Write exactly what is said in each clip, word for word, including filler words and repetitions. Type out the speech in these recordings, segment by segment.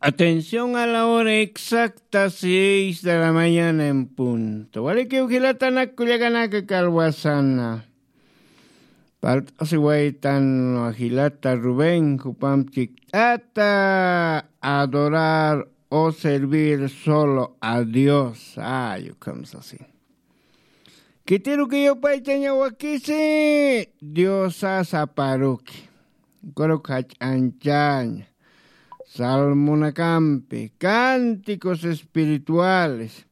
Atención a la hora exacta, seis de la mañana en punto. Walikiw jilatanak kullakanaka kalwasana. Palt'asiwaytan jilata Rubén, jupamp chikt'ata adorar o servir solo a Dios. Ay, ukham sasin. Kitiruki yupaychaña wakisi, Diosa saparuki. Kuruk jach'anchaña. Salmonakampi, cánticos espirituales.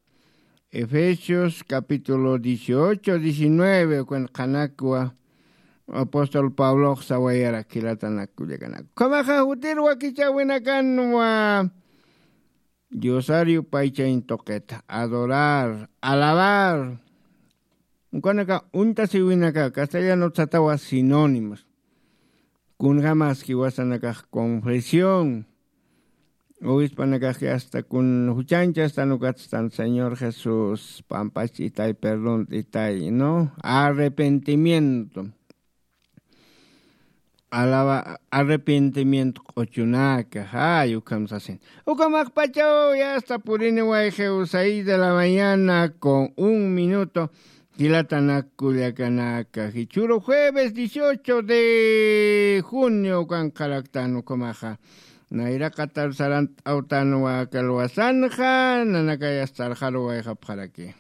Efesios capítulo dieciocho, diecinueve, ukun qhanakwa apóstol Pablox sawayarak jilatanak kullakanaka. Ukhamaxa jutir wakichäwinakanwa Diosar yupaychañ tuqita, adorar, alabar. Ukanaka uñtasiwinaka, castellanot satawa sinónimos. Kunjamaski wasanakax confesión. Obispanakas hasta kun juchancha hasta nukatstan Señor Jesús, pampach itay, perdón itay, ¿no? Arrepentimiento. Alaba, arrepentimiento q'uchunaka, ay, ukham sasin. Ukhamax pachaw ya hasta purini wayqiw seis de la mañana con un minuto. Jilatanak kullakanaka, jichhüru jueves dieciocho de junio ukan qaraktan ukhamaxa. Nayraqatar sarant'awtanwa kalwasanxa, nanakayas sarxaruwayxapxaraki.